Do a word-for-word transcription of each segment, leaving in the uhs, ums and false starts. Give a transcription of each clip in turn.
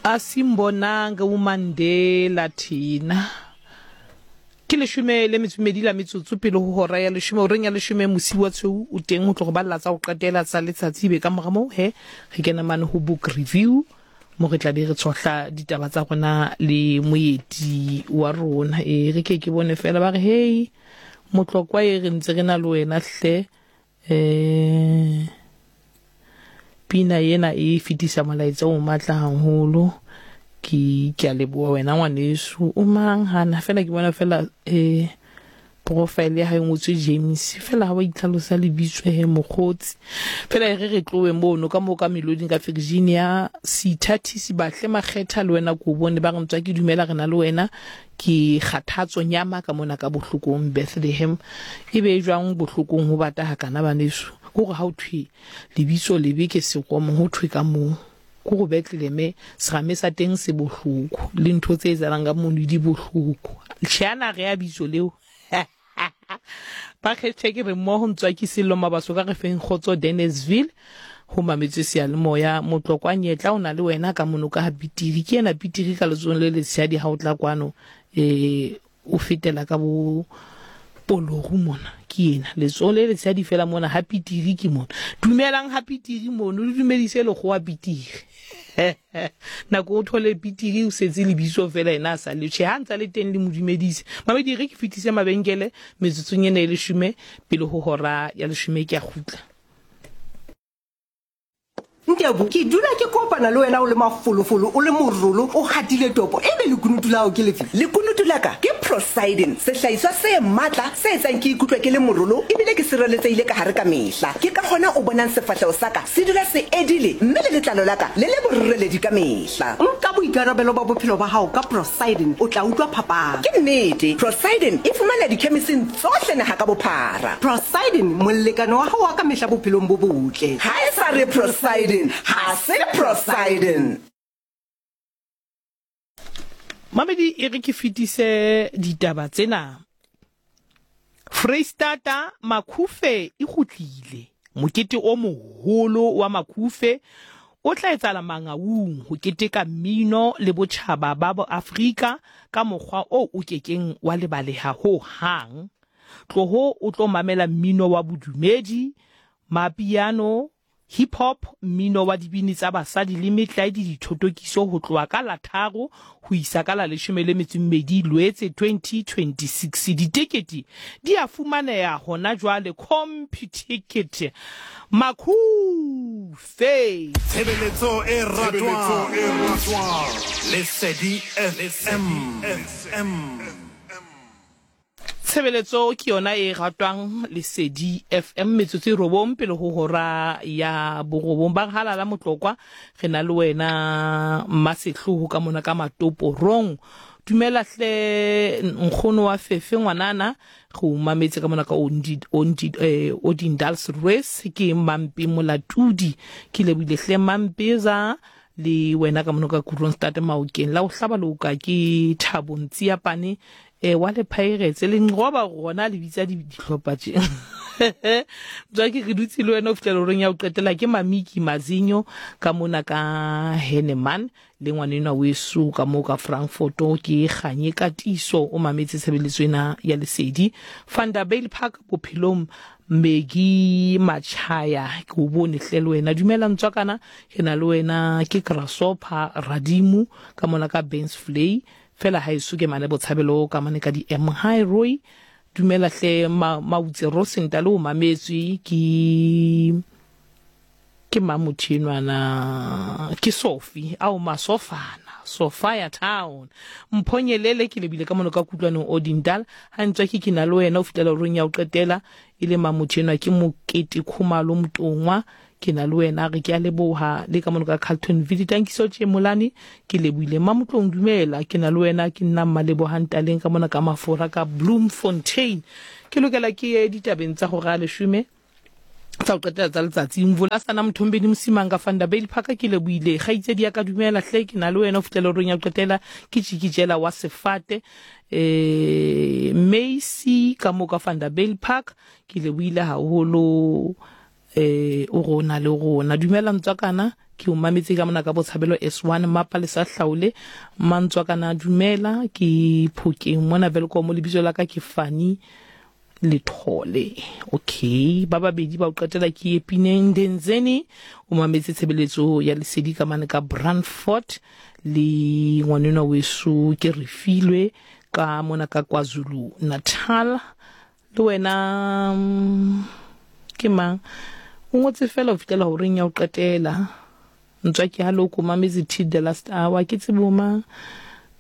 Asimbonanga uMandela thina. Ke leshome le metso e mmedi la metsotso pele ho hora ya leshome, horeng ya leshome mosiu wa tshweu o teng ho tlo go balla tsa go qetela tsa letsatsi. Be ka mora moo he re kena mane ho book review, mo re tla be re tshohla ditaba tsa rona le moeti wa rona. E re ke ke bone fela ba re hey Motlokwa, e re ntse re na le wena hle. Eh pina ena e fetisa molaetsa o matla haholo. Ke ke a leboha wena ngwaneso. O mang hana fela ke bona fela eh profile ya hae ngotswe James fela ha wa itlhalosa lebitso he mokgotsi. Fela e re re tlowe mono ka moo ka meloding ka Virginia Seithathisi Bahle Makgetha, le wena ko bone ba re ntswa ke dumela re na le wena. Ke kgathatso nyama ka mona ka bohlokong Bethlehem. E be jwang bohlokong ho bata hakana baneso? Ke hore ha o thwe lebitso lebe ke sekomo, ho thwe ka moo ko go Bethlehem serame sa teng se bohloko, le ntho tse etsahalang ka mono di bohloko. Tjhe, ana re ya bitso leo ba hashtag re mmoho ntswa ke Sello Mabaso ka re feng kgotso Dennisville ho mametswe seyalemoya. Motlokwa Nyetla o na le wena ka mono ka ha Pitiri, ke ena Pitiri ka letsohong le letshehadi ha o tla kwano, eh o fetela ka bo Poloru mona, ke ena letsohong le letshehadi fela mona ha Pitiri ke mona. Dumelang ha Pitiri mono, le dumedise lekgowa Pitiri. Nako o thole Pitiri o setse lebitso fela ena a sa le tjhe, ha ntsa le teng le mo dumedise. Mamedi re ke fetise mabenkele metsotsong ena e leshome pele ho hora ya leshome, ke a kgutla. Ntebo, ke dula ke kopana le wena o le mafolofolo, o le morolo, o hatile topo, ebe lekunutu la hao ke lefe? Lekunutu la ka ke Prosidin, sehlahiswa se matla se etsang ke ikutlwe ke le morolo ebile ke sireletsehile ka hare ka mehla. Ke ka hona o bonang sefahleho sa ka se dula se edile mme le letlalo la ka le le boreledi ka mehla. Nka boikarabelo ba bophelo ba hao ka Prosidin, o tla utlwa phapang. Ke nnete, Prosidin e fumaneha dikhemising tsohle naha ka bophara. Prosidin, molekane wa hao wa ka mehla bophelong bo botle. Ha e sa re Prosidin, ha se Prosidin. Mamedi e re ke fetise ditaba tsena. Freistata Makhufe e kgutlile. Mokete o moholo wa Makhufe o tla etsahala Mangaung ho keteka mmino le botjhaba ba bo Afrika ka mokgwa o o kekeng wa lebaleha ho hang. Tloho o tlo mamela mmino wa bodumedi, mapiano, hip hop, mmino wa dibini tsa basadi le metlae di dithotokiso ho tloha ka la tharo ho isa ka la leshome le metso e mmedi Loetse twenty twenty-six. Ditekete di a fumaneha hona jwale Computicket. Makhufe. Tshebeletso e ratwang. Lesedi F M. Tshebeletso ke yona e ratwang Lesedi F M, metsotso e robong pele ho hora ya borobong. Ba re halala Motlokwa, re na le wena Mmasehloho ka mona ka Matoporong. Dumela hle nkgono wa Fefe ngwanana, re o mametse ka mona ka Ondi, Ondi, eh, Odendaalsrus. Ke Mampe Molatudi, ke lebohile hle Mampeza le wena ka mona ka Kroonstad Maokeng. La o hlaba le o ka ke Thabo Ntsiapane, eh wa le Pirates le nqoba rona le bitsa di dihlopha tje. Jwa ke re dutse le wena o fihlela horeng ya ho qetela. Ke Mamiki Mazinyo ka mona ka Henneman le ngwanenwa weso ka moo ka Frankfurt, ke Kganye Katiso o mametse tshebeletso ena ya Lesedi. Vanderbijl Park bophelong Megi Machaya, ke o bone hle le wena. Dumela ntswakana, ke na le wena ke Grasshopper Radimu ka mona ka Bensvlei. Fela ha eso ke mane Botshabelo ka mane ka di M High Roy. Dumela hle ma, Mautse Rosenta le o mametswe ke ke mamothenwana ke Sophie ao Masofana Sophia Town. Mphonyelele ke lebile ka mono ka kutlwanong Odindal. Ha ntswa ke ke na le wena o fihlela horeng ya ho qetela e le mamothenwa ke Mokete Khumalo Motongwa, ke na le wena re ke a leboha le ka mono ka Carltonville. Tankiso Tjemolane ke lebohile. Mamotlong dumela, ke na le wena ke nna Mmalebohang Taleng ka mona ka Mafora ka Bloemfontein. Ke lokela ke ye ditabeng tsa hora ya leshome tsa ho qetela tsa letsatsi. Mvula sana Mthombeni Msimang ka Vanderbijl Park ke lebohile. Kgaitsedi ya ka dumela hle, ke na le wena o fihlela horeng ya ho qetela. Ke Tjikijela wa Sefate, eh Macy ka mo ka Vanderbijl Park ke lebohile haholo. Eh o rona le rona. Dumela ntswakana, ke o mametse ka mona ka Botshabelo S one mapa le sa hlaole. Mantswakana dumela, ke Phokeng mona Welkom, lebitso la ka ke Fani Lethole. Okay, ba babedi ba o qetela ke Epineng Denzeni, o mametse tshebeletso ya Lesedi ka mane ka Brandfort, le ngwanenwa weso ke Refilwe ka mona ka KwaZulu Natal. Le wena ke mang o ngotse fela ho fihlela horeng ya ho qetela. Ntswa ke halo ko mametse till the last hour, ke tsebo mang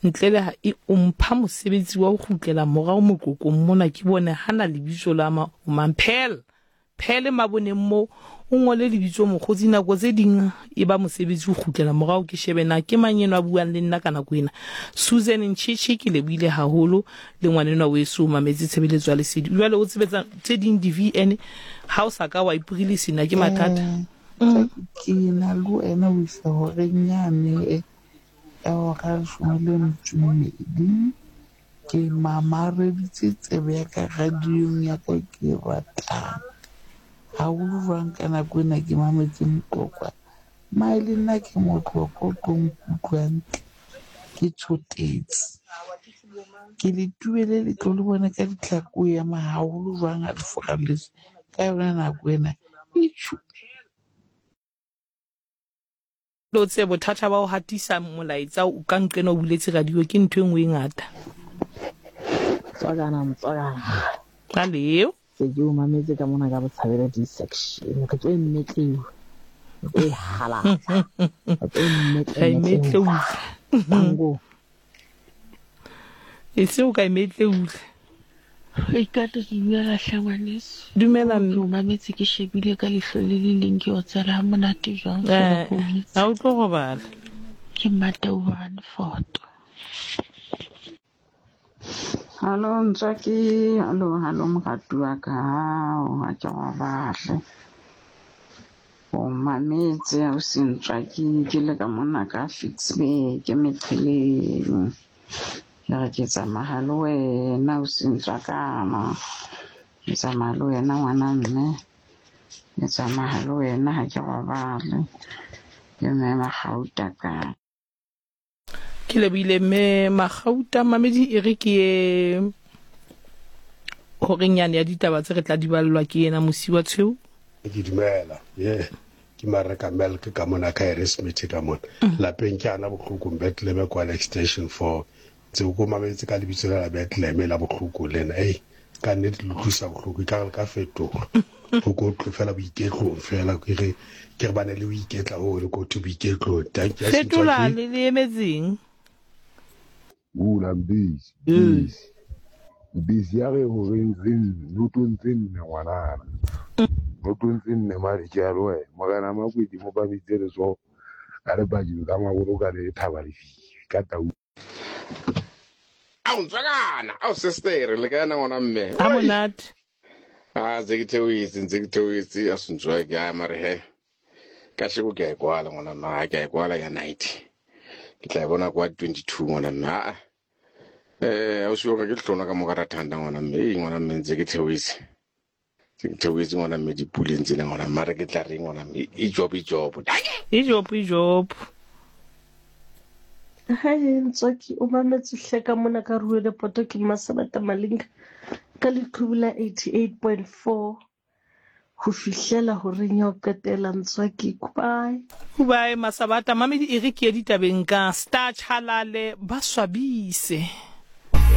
ntle le ha e o mpha mosebetsi wa ho kgutlela morao moqoqong mona, ke bone hana lebitso la ma o mang phel phele maboneng mo o ngole lebitso mokgotsi. Nako tse ding e ba mosebetsi o kgutlela morao, ke shebe na ke mang enwa a buang le nna ka nako ena. Susan Nchichi ke lebohile haholo, le ngwanenwa weso o mametse tshebeletso ya Lesedi. Jwale o tsebetsa tse ding di V N ha o sa ka wa iporile sena ke mathata. Ke na le wena o isa horeng yane ya hora leshome le metso e mmedi. Ke mamareditse tsebe ya ka radiong ya ka ke e ratang haholo. Jwang ka nako ena ke mametse Motlokwa, mae le nna ke Motlokwa o tlo nkutlwa hantle, ke tshotetse ke le tubele le tlo le bona ka ditlhako ema haholo jwang ha le furalletse ka yona nako ena. Itjhu lo tse bothata ba ho hatisa molaetsa o ka nqena o buletse radio ke ntho e nngwe e ngata. Tswakana motswakana. Aleo. Se ke o mametse ka mona ka Botshabelo D section. Re tlo e mmetleu. Re tlo e halatsa. Re tlo e mmetleu. Tango. E se o ka e mmetleule. Ikata dumela hle ngwaneso. Dumela mme. Ke o mametse ke shebile ka leihlo le le leng, ke o tsela ha monate jwang. Eh, ha o tlo robala. Ke Matauane Foto. Hallo Ntswaki, hallo hallo moratuwa wa ka, ha ke robale. O mametse ausi Ntswaki, ke le ka mona ka Ficksburg, ke meqheleng. Ke re ke tsamaya le wena ausi Ntswakana, ke tsamaya le wena ngwana mme, ke tsamaya le wena ha ke robale. Ke mme Magauta ka. Ke lebohile mme Magauta. Mamedi e re ke ye horeng yane ya ditaba tse re tla di ballwa ke yena Mosiwa Tshweu. Ke dumela ye ke mareka milk ka mona ka Harrismith ka mona lapeng ke ana bohlokong Bethlehem kwa extension four. Tse ko mametse ka lebitso la Bethlehem la bohloko lena. Ei ka nnete le utlwisa bohloko, e ka re ka fetoha ho ko tlo fela boiketlong fela, ke re ke re bane le boiketla ho le ko to boiketlong. Thank you. Fetola le le emetseng. Bula mbisi, mbisi. Mbisi ya re horeng tse nne, notong tse nne ngwanana. Notong tse nne mare ke a le wena. Morena Makwedi mo ba bitse letsoho ka le bakeng tsa mabolo ka le thaba lefifi ka tau. Ao ntswakana, ao sister, le ka yena ngwana mme. Ha monate. Ah, ntse ke theohetse, ntse ke theohetse, a se ntswaki, a mare he. Ka sheko ke a e kwala ngwana mme, ha ke a e kwala ya night. Ke tla e bona kwa twenty-two ngwana mme. Ah. Eh, o se ka ke hlona ka mo ka rathanda ngwana mme. Ee ngwana mme ntse ke theohetse. Ntse ke theohetse ngwana mme dipuleng tsena ngwana mme, mare ke tla reng ngwana mme, e job e job. E job e job. Hai Ntswaki, o mametse hle ka mona ka Ruele Poto, ke Masabata Malinga ka leqhubu la eighty-eight point four ho fihlela horeng ya ho qetela. Ntswaki, goodbye. Goodbye Masabata. Mamedi e re ke ye ditabeng ka Star Chalale ba swabise.